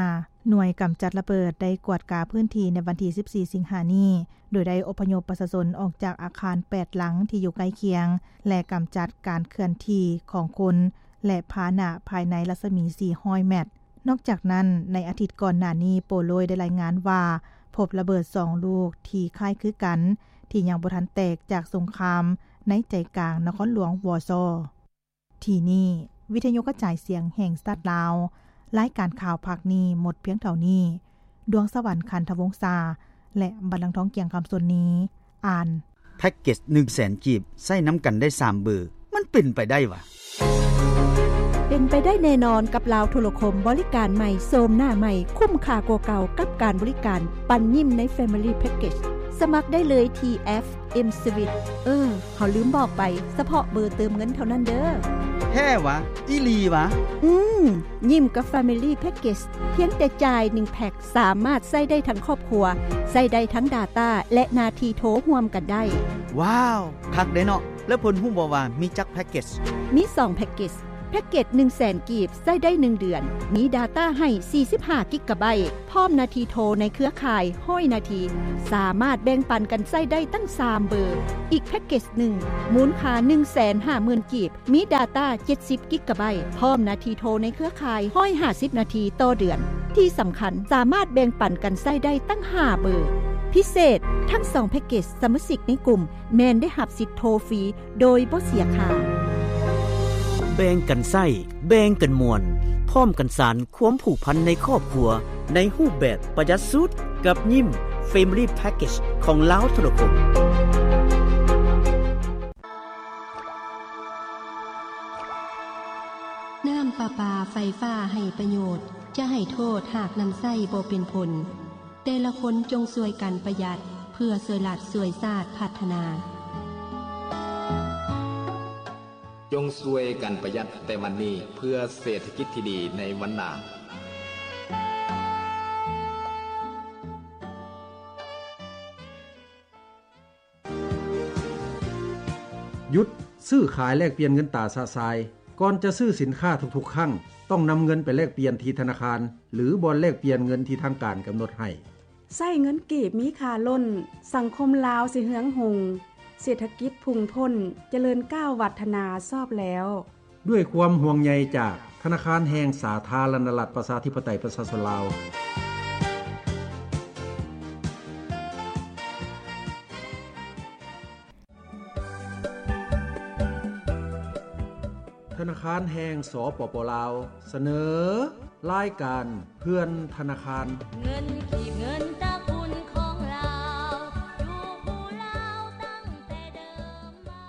ໜ່ວຍກຳຈັດລະເບີດໄດ້ກວດກາພື້ນທີ່ໃນວັນທີສິບສີ່ສິງຫານີ້ ໂດຍໄດ້ອົບພະຍົບປະຊາຊົນອອກຈາກອາຄານແປດຫຼັງທີ່ຢູ່ໃກ້ຄຽງ ແລະ ກຳຈັດການເຄື່ອນທີ່ຂອງຄົນ ແລະ ພາຫະນະພາຍໃນລັດສະໝີສີ່ຮ້ອຍແມັດ. ນອກຈາກນັ້ນ, ໃນອາທິດກ່ອນໜ້ານີ້ ໂປໂລຍໄດ້ລາຍງານວ່າ ພົບລະເບີດສອງລູກທີ່ຄ້າຍຄືກັນ ທີ່ຍັງບໍ່ທັນແຕກຈາກສົງຄາມໃນໃຈກາງນະຄອນຫຼວງວໍຊໍ. ທີ່ນີ້ ວິທະຍຸກະຈາຍສຽງແຫ່ງຊາດລາວ, ລາຍການຂ່າວພາກນີ້ໝົດພຽງເທົ່ານີ້. ດວງສະຫວັນ ຂັນທະວົງສາ ແລະ ບັນລັງທອງ ກຽງຄຳສົນນີ ອ່ານ. ແພັກເກັດໜຶ່ງແສນກີບ ໃຊ້ນຳກັນໄດ້ສາມເບີ, ມັນເປັນໄປໄດ້ຫວາ? ເປັນໄປໄດ້ແນ່ນອນກັບລາວໂທລະຄົມ, ບໍລິການໃໝ່, ໂສມໜ້າໃໝ່, ຄຸ້ມຄ່າກວ່າເກົ່າກັບການບໍລິການປັນຍິ້ມໃນ Family Package. ສະໝັກໄດ້ເລີຍທີ່ແອັບ M Swiss. ເອີ, ເຮົາລືມບອກໄປ, ສະເພາະເບີເຕີມເງິນເທົ່ານັ້ນເດີ້. ແທ້ຫວາ? ອີ່ຫຼີຫວາ? ອືມ, ຍິ້ມກັບ Family Package ພຽງແຕ່ຈ່າຍໜຶ່ງແພັກ ສາມາດໃຊ້ໄດ້ທັງຄອບຄົວ, ໃຊ້ໄດ້ທັງ data ແລະ ໜ້າທີ່ໂທຮ່ວມກັນໄດ້. ວ້າວ, ຄັກເດ້ເນາະ. ແລ້ວເພິ່ນຮູ້ບໍ່ວ່າມີຈັກ package? ມີສອງ package. ແພັກເກັດໜຶ່ງແສນກີບ ໃຊ້ໄດ້ໜຶ່ງເດືອນ, ມີດາຕ້າໃຫ້ສີ່ສິບຫ້າກິກກາໄບ, ພ້ອມນາທີໂທໃນເຄືອຂ່າຍຮ້ອຍນາທີ, ສາມາດແບ່ງປັນກັນໃຊ້ໄດ້ຕັ້ງສາມເບີ. ອີກແພັກເກັດໜຶ່ງ ມູນຄ່າໜຶ່ງແສນຫ້າໝື່ນກີບ, ມີດາຕ້າເຈັດສິບກິກກາໄບ, ພ້ອມນາທີໂທໃນເຄືອຂ່າຍຮ້ອຍຫ້າສິບນາທີຕໍ່ເດືອນ. ທີ່ສຳຄັນ, ສາມາດແບ່ງປັນກັນໃຊ້ໄດ້ຕັ້ງຫ້າເບີ. ພິເສດ, ທັງສອງແພັກເກັດສະມາຊິກໃນກຸ່ມ ແມ່ນໄດ້ຮັບສິດໂທຟຣີໂດຍບໍ່ເສຍຄ່າ. ແບ່ງກັນໃຊ້, ແບ່ງກັນມ່ວນ, ພ້ອມກັນສານຄວາມຜູກພັນໃນຄອບຄົວ ໃນຮູບແບບປະຢັດສຸດ ກັບຍິ້ມ Family Package ຂອງລາວໂທລະຄົມ. ນ້ຳປະປາໄຟຟ້າໃຫ້ປະໂຫຍດ, ຈະໃຫ້ໂທດຫາກນຳໃຊ້ບໍ່ເປັນຜົນ. ແຕ່ລະຄົນຈົ່ງຊ່ວຍກັນປະຢັດ ເພື່ອຊ່ວຍລັດຊ່ວຍຊາດພັດທະນາ. ຈົ່ງຊ່ວຍກັນປະຢັດແຕ່ວັນນີ້ ເພື່ອເສດຖະກິດທີ່ດີໃນວັນໜ້າ. ຢຸດຊື້ຂາຍແລກປ່ຽນເງິນຕາຊະຊາຍ. ກ່ອນຈະຊື້ສິນຄ້າທຸກໆຄັ້ງ, ຕ້ອງນຳເງິນໄປແລກປ່ຽນທີ່ທະນາຄານ ຫຼື ບ່ອນແລກປ່ຽນເງິນທີ່ທາງການກຳນົດໃຫ້. ໃຊ້ເງິນກີບມີຄ່າລົ້ນ, ສັງຄົມລາວຊິເຮືອງຮຸ່ງ, ເສດຖະກິດພຸ່ງພົ້ນ, ຈະເລີນກ້າວວັດທະນາຊອບແລ້ວ. ດ້ວຍຄວາມຫ່ວງໃຍຈາກທະນາຄານແຫ່ງສາທາລະນະລັດ ປະຊາທິປະໄຕ ປະຊາຊົນລາວ. ທະນາຄານແຫ່ງ ສປປ ລາວ ສະເໜີ ລາຍການເພື່ອນທະນາຄານ. ເງິນກີບ ເງິນຕະກຸນຂອງລາວ ຢູ່ຜູ້ລາວຕັ້ງແຕ່ເດີມມາ.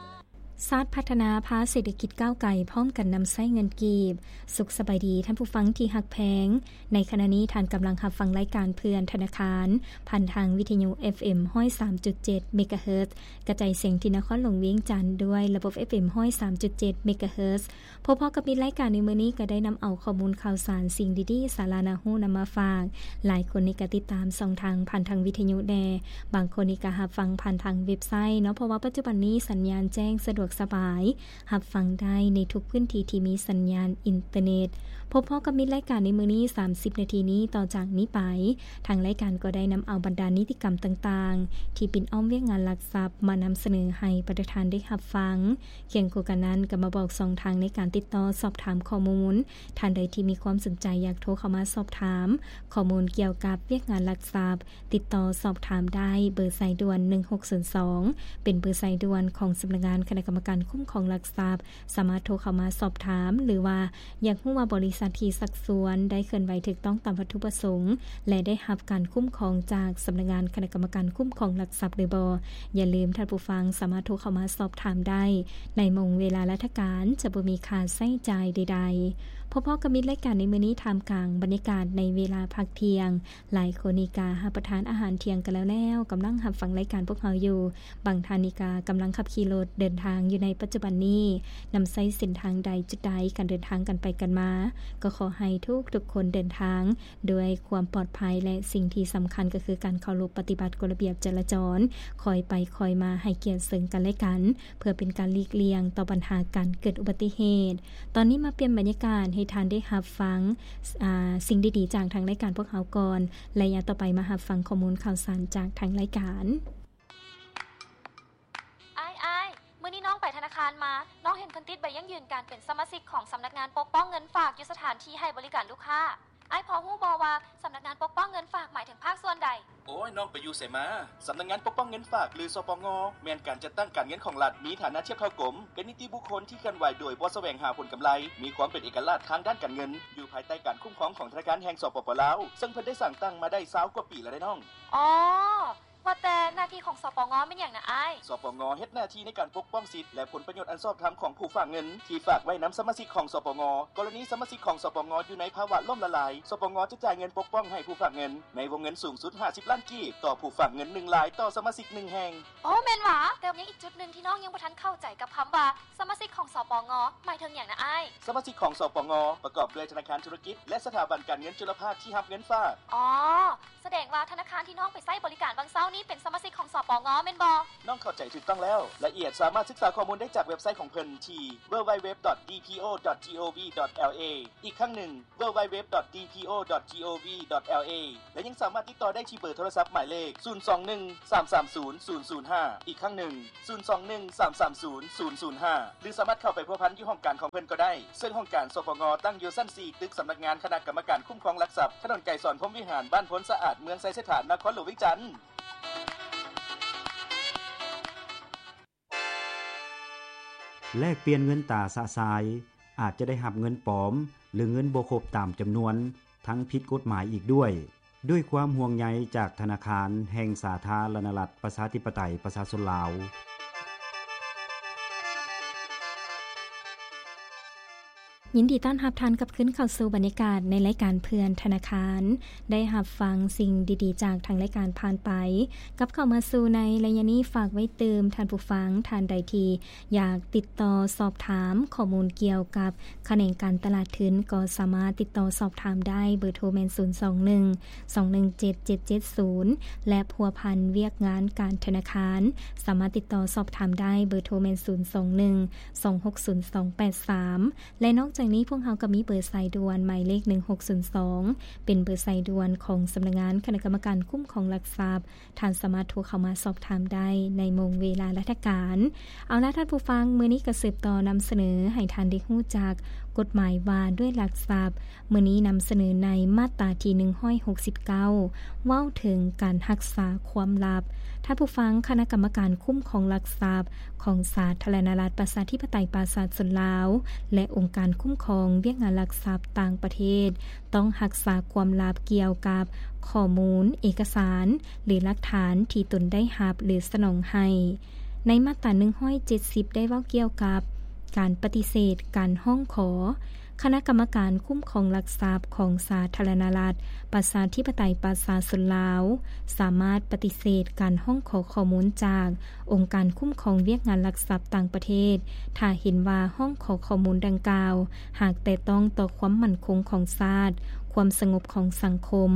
ຊາດພັດທະນາພາເສດຖະກິດກ້າວໄກ ພ້ອມກັນນຳໃຊ້ເງິນກີບ. ສຸກສະບາຍດີທ່ານຜູ້ຟັງທີ່ຮັກແພງ. ໃນຂະນະນີ້ທ່ານກຳລັງຮັບຟັງລາຍການເພື່ອນທະນາຄານ ຜ່ານທາງວິທະຍຸ ເອັຟເອັມ ຮ້ອຍສາມຈຸດເຈັດ ເມກາເຮີດ ກະຈາຍສຽງທີ່ນະຄອນຫຼວງວຽງຈັນ ດ້ວຍລະບົບ ເອັຟເອັມ ຮ້ອຍສາມຈຸດເຈັດ ເມກາເຮີດ. ພົບພໍ້ກັບມິດລາຍການໃນມື້ນີ້ ກໍໄດ້ນຳເອົາຂໍ້ມູນຂ່າວສານ, ສິ່ງດີໆ, ສາລະໜ້າຮູ້ນຳມາຝາກ. ຫຼາຍຄົນນີ້ກໍຕິດຕາມຊ່ອງທາງຜ່ານທາງວິທະຍຸແດ່, ບາງຄົນນີ້ກໍຮັບຟັງຜ່ານທາງເວັບໄຊເນາະ, ເພາະວ່າປັດຈຸບັນນີ້ສັນຍານແຈ້ງສະດວກສະບາຍ. ຮັບຟັງໄດ້ໃນທຸກພື້ນທີ່ທີ່ມີສັນຍານອິນເຕີເນັດ. ພົບພໍ້ກັບມິດລາຍການໃນມື້ນີ້ ສາມສິບນາທີນີ້. ຕໍ່ຈາກນີ້ໄປ, ທາງລາຍການກໍໄດ້ນຳເອົາບັນດານິຕິກຳຕ່າງໆ ທີ່ປິ່ນອ້ອມວຽກງານລັກຊັບ ມານຳສະເໜີໃຫ້ປະທານໄດ້ຮັບຟັງ. ຄຽງຄູ່ກັນນັ້ນ, ກໍມາບອກຊ່ອງທາງໃນການຕິດຕໍ່ສອບຖາມຂໍ້ມູນ. ທ່ານໃດທີ່ມີຄວາມສົນໃຈຢາກໂທເຂົ້າມາສອບຖາມຂໍ້ມູນກ່ຽວກັບວຽກງານລັກຊັບ, ຕິດຕໍ່ສອບຖາມໄດ້ເບີສາຍດ່ວນ ໜຶ່ງຫົກສູນສອງ ເປັນເບີສາຍດ່ວນຂອງສຳນັກງານຄະນະກຳມະການຄຸ້ມຄອງຫຼັກຊັບ. ສາມາດໂທເຂົ້າມາສອບຖາມ ຫຼືວ່າຢາກຮູ້ວ່າບໍລິສັດທີ່ຊັກຊວນໄດ້ເຄື່ອນໄຫວຖືກຕ້ອງຕາມວັດຖຸປະສົງ ແລະ ໄດ້ຮັບການຄຸ້ມຄອງຈາກສຳນັກງານຄະນະກຳມະການຄຸ້ມຄອງຫຼັກຊັບຫຼືບໍ່. ຢ່າລືມ, ທ່ານຜູ້ຟັງສາມາດໂທເຂົ້າມາສອບຖາມໄດ້ໃນໂມງເວລາລາຊະການ, ຈະບໍ່ມີຄ່າໃຊ້ຈ່າຍໃດໆ. ພໍ້ໆກັບມິດລາຍການໃນມື້ນີ້, ທ່າມກາງບັນຍາກາດໃນເວລາພັກທ່ຽງ, ຫຼາຍຄົນນີ້ກະຮັບປະທານອາຫານທ່ຽງກັນແລ້ວໆ, ກຳລັງຮັບຟັງລາຍການພວກເຮົາຢູ່. ບາງທ່ານນີ້ກະກຳລັງຂັບຂີ່ລົດເດີນທາງຢູ່ໃນປັດຈຸບັນນີ້, ນຳໃຊ້ເສັ້ນທາງໃດ, ຈຸດໃດ, ການເດີນທາງກັນໄປກັນມາ, ກໍຂໍໃຫ້ທຸກໆຄົນເດີນທາງດ້ວຍຄວາມປອດໄພ ແລະ ສິ່ງທີ່ສຳຄັນກໍຄືການເຄົາລົບປະຕິບັດກົດລະບຽບຈະລາຈອນ, ຄ່ອຍໄປຄ່ອຍມາ, ໃຫ້ກຽດເຊິ່ງກັນແລະກັນ, ເພື່ອເປັນການຫຼີກລ່ຽງຕໍ່ບັນຫາການເກີດອຸບັດຕິເຫດ. ຕອນນີ້ມາປ່ຽນບັນຍາກາດໃຫ້ທ່ານໄດ້ຮັບຟັງ, ອາ, ສິ່ງດີໆຈາກທາງລາຍການພວກເຮົາກ່ອນ. ໄລຍະຕໍ່ໄປມາຮັບຟັງຂໍ້ມູນຂ່າວສານຈາກທາງລາຍການ. ອ້າຍ, ອ້າຍ, ມື້ນີ້ນ້ອງໄປທະນາຄານມາ, ນ້ອງເຫັນເພິ່ນຕິດໃບຢັ້ງຢືນການເປັນສະມາຊິກຂອງສຳນັກງານປົກປ້ອງເງິນຝາກຢູ່ສະຖານທີ່ໃຫ້ບໍລິການລູກຄ້າ. ອ້າຍພໍຮູ້ບໍ່ວ່າສຳນັກງານປົກປ້ອງເງິນຝາກໝາຍເຖິງພາກສ່ວນໃດ? ໂອ້ຍ, ນ້ອງໄປຢູ່ໃສມາ? ສຳນັກງານປົກປ້ອງເງິນຝາກ ຫຼື ສປງ ແມ່ນການຈັດຕັ້ງການເງິນຂອງລັດ, ມີຖານະທຽບເທົ່າກົມ, ເປັນນິຕິບຸກຄົນທີ່ເຄື່ອນໄຫວໂດຍບໍ່ສະແຫວງຫາຜົນກຳໄລ, ມີຄວາມເປັນເອກະລາດທາງດ້ານການເງິນ, ຢູ່ພາຍໃຕ້ການຄຸ້ມຄອງຂອງທະນາຄານແຫ່ງ ສປປ ລາວ, ເຊິ່ງເພິ່ນໄດ້ສ້າງຕັ້ງມາໄດ້ຊາວກວ່າປີແລ້ວເດ້ນ້ອງ. ອໍ ວ່າແຕ່ໜ້າທີ່ຂອງ ສປງ ແມ່ນຫຍັງນະອ້າຍ? ສປງ ເຮັດໜ້າທີ່ໃນການປົກປ້ອງສິດ ແລະ ຜົນປະໂຫຍດອັນຊອບທຳຂອງຜູ້ຝາກເງິນ ທີ່ຝາກໄວ້ນຳສະມາຊິກຂອງ ສປງ. ກໍລະນີສະມາຊິກຂອງ ສປງ ຢູ່ໃນພາວະລົ້ມລະລາຍ, ສປງ ຈະຈ່າຍເງິນປົກປ້ອງໃຫ້ຜູ້ຝາກເງິນ ໃນວົງເງິນສູງສຸດຫ້າສິບລ້ານກີບ ຕໍ່ຜູ້ຝາກເງິນໜຶ່ງລາຍຕໍ່ສະມາຊິກໜຶ່ງແຫ່ງ. ໂອ້ ແມ່ນຫວາ? ແຕ່ຍັງອີກຈຸດໜຶ່ງທີ່ນ້ອງຍັງບໍ່ທັນເຂົ້າໃຈກັບຄຳວ່າ ສະມາຊິກຂອງ ສປງ ໝາຍເຖິງຫຍັງນະອ້າຍ? ສະມາຊິກຂອງ ສປງ ປະກອບດ້ວຍທະນາຄານທຸລະກິດ ແລະ ສະຖາບັນການເງິນຈຸລະພາກທີ່ຮັບເງິນຝາກ. ອໍ ສະແດງວ່າທະນາຄານທີ່ນ້ອງໄປໃຊ້ບໍລິການຫວ່າງເຊົ້າ ນີ້ເປັນສະມາຊິກຂອງ ສປງ ແມ່ນບໍ່? ນ້ອງເຂົ້າໃຈຖືກຕ້ອງແລ້ວ. ລາຍລະອຽດສາມາດສຶກສາຂໍ້ມູນໄດ້ຈາກເວັບໄຊຂອງເພິ່ນທີ່ www.dpo.gov.la ອີກຄັ້ງໜຶ່ງ www.dpo.gov.la ແລະ ຍັງສາມາດຕິດຕໍ່ໄດ້ທີ່ເບີໂທລະສັບໝາຍເລກ ສູນສອງໜຶ່ງ ສາມສາມສູນ ສູນສູນຫ້າ ອີກຄັ້ງໜຶ່ງ ສູນສອງໜຶ່ງ ສາມສາມສູນ ສູນສູນຫ້າ ຫຼື ສາມາດເຂົ້າໄປພົວພັນຢູ່ຫ້ອງການຂອງເພິ່ນກໍໄດ້, ເຊິ່ງຫ້ອງການ ສປງ ຕັ້ງຢູ່ຊັ້ນສີ່ ຕຶກສຳນັກງານຄະນະກຳມະການຄຸ້ມຄອງຫຼັກຊັບ, ຖະໜົນໄກສອນ ພົມວິຫານ, ບ້ານໂພນສະອາດ, ເມືອງໄຊເສດຖາ, ນະຄອນຫຼວງວຽງຈັນ. ແລກປ່ຽນເງິນຕາຊະຊາຍ ອາດຈະໄດ້ຮັບເງິນປອມ ຫຼື ເງິນບໍ່ຄົບຕາມຈຳນວນ ທັງຜິດກົດໝາຍອີກດ້ວຍ. ດ້ວຍຄວາມຫ່ວງໃຍຈາກທະນາຄານແຫ່ງສາທາລະນະລັດ ປະຊາທິປະໄຕ ປະຊາຊົນລາວ. ຍິນດີຕ້ອນຮັບທ່ານກັບຄືນເຂົ້າສູ່ບັນຍາກາດໃນລາຍການເພື່ອນທະນາຄານ. ໄດ້ຮັບຟັງສິ່ງດີໆຈາກທາງລາຍການຜ່ານໄປ. ກັບເຂົ້າມາສູ່ໃນໄລຍະນີ້ ຝາກໄວ້ຕື່ມທ່ານຜູ້ຟັງທ່ານໃດທີ່ ຢາກຕິດຕໍ່ສອບຖາມຂໍ້ມູນກ່ຽວກັບຂະແໜງການຕະຫຼາດທຶນ ກໍສາມາດຕິດຕໍ່ສອບຖາມໄດ້ ເບີໂທແມ່ນ ສູນສອງໜຶ່ງ ສອງໜຶ່ງເຈັດ ເຈັດເຈັດສູນ ແລະ ພົວພັນວຽກງານການທະນາຄານ ສາມາດຕິດຕໍ່ສອບຖາມໄດ້ ເບີໂທແມ່ນ ສູນສອງໜຶ່ງ ສອງຫົກສູນ ສອງແປດສາມ ແລະ ນອກຈາກນີ້ພວກເຮົາກໍມີເບີສາຍດ່ວນໝາຍເລກ ໜຶ່ງຫົກສູນສອງ ເປັນເບີສາຍດ່ວນຂອງສຳນັກງານຄະນະກຳມະການຄຸ້ມຄອງຫຼັກຊັບ ທ່ານສາມາດໂທເຂົ້າມາສອບຖາມໄດ້ໃນໂມງເວລາລາຊະການ. ເອົາລະທ່ານຜູ້ຟັງ, ມື້ນີ້ກໍສືບຕໍ່ນຳສະເໜີໃຫ້ທ່ານໄດ້ຮູ້ຈັກກົດໝາຍວ່າດ້ວຍຫຼັກຊັບ. ມື້ນີ້ນຳສະເໜີໃນມາດຕາທີໜຶ່ງຮ້ອຍຫົກສິບເກົ້າ ເວົ້າເຖິງການຮັກສາຄວາມລັບ. ທ່ານຜູ້ຟັງ, ຄະນະກຳມະການຄຸ້ມຄອງຫຼັກຊັບຂອງສາທາລະນະລັດ ປະຊາທິປະໄຕ ປະຊາຊົນລາວ ແລະ ອົງການຄຸ້ມຄອງວຽກງານຫຼັກຊັບຕ່າງປະເທດ ຕ້ອງຮັກສາຄວາມລັບກ່ຽວກັບຂໍ້ມູນ, ເອກະສານ ຫຼື ຫຼັກຖານທີ່ຕົນໄດ້ຮັບ ຫຼື ສະໜອງໃຫ້. ໃນມາດຕາໜຶ່ງຮ້ອຍເຈັດສິບ ໄດ້ເວົ້າກ່ຽວກັບການປະຕິເສດການຮ້ອງຂໍ. ຄະນະກຳມະການຄຸ້ມຄອງຫຼັກຊັບຂອງສາທາລະນະລັດ ປະຊາທິປະໄຕ ປະຊາຊົນລາວ ສາມາດປະຕິເສດການຮ້ອງຂໍຂໍ້ມູນຈາກ ອົງການຄຸ້ມຄອງວຽກງານຫຼັກຊັບຕ່າງປະເທດ ຖ້າເຫັນວ່າຮ້ອງຂໍຂໍ້ມູນດັ່ງກ່າວ ຫາກແຕະຕ້ອງຕໍ່ຄວາມໝັ້ນຄົງຂອງຊາດ, ຄວາມສະຫງົບຂອງສັງຄົມ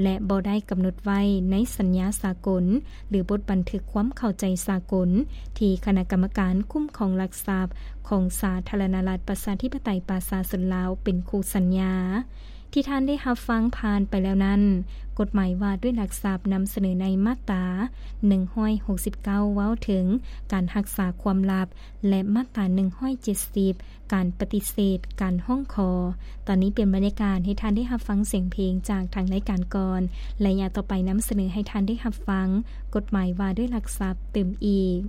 ແລະ ບໍ່ໄດ້ກຳນົດໄວ້ໃນສັນຍາສາກົນ ຫຼື ບົດບັນທຶກຄວາມເຂົ້າໃຈສາກົນ ທີ່ຄະນະກຳມະການຄຸ້ມຄອງຫຼັກຊັບຂອງສາທາລະນະລັດ ປະຊາທິປະໄຕ ປະຊາຊົນລາວ ເປັນຄູ່ສັນຍາ. ທີ່ທ່ານໄດ້ຮັບຟັງຜ່ານໄປແລ້ວນັ້ນ, ກົດໝາຍວ່າດ້ວຍຫຼັກຊັບນຳສະເໜີໃນມາດຕາໜຶ່ງຮ້ອຍຫົກສິບເກົ້າ ເວົ້າເຖິງການຮັກສາຄວາມລັບ ແລະ ມາດຕາໜຶ່ງຮ້ອຍເຈັດສິບ ການປະຕິເສດການຮ້ອງຂໍ. ຕອນນີ້ປ່ຽນບັນຍາກາດໃຫ້ທ່ານໄດ້ຮັບຟັງສຽງເພງຈາກທາງລາຍການກ່ອນ. ໄລຍະຕໍ່ໄປນຳສະເໜີໃຫ້ທ່ານໄດ້ຮັບຟັງກົດໝາຍວ່າດ້ວຍຫຼັກຊັບຕື່ມອີກ.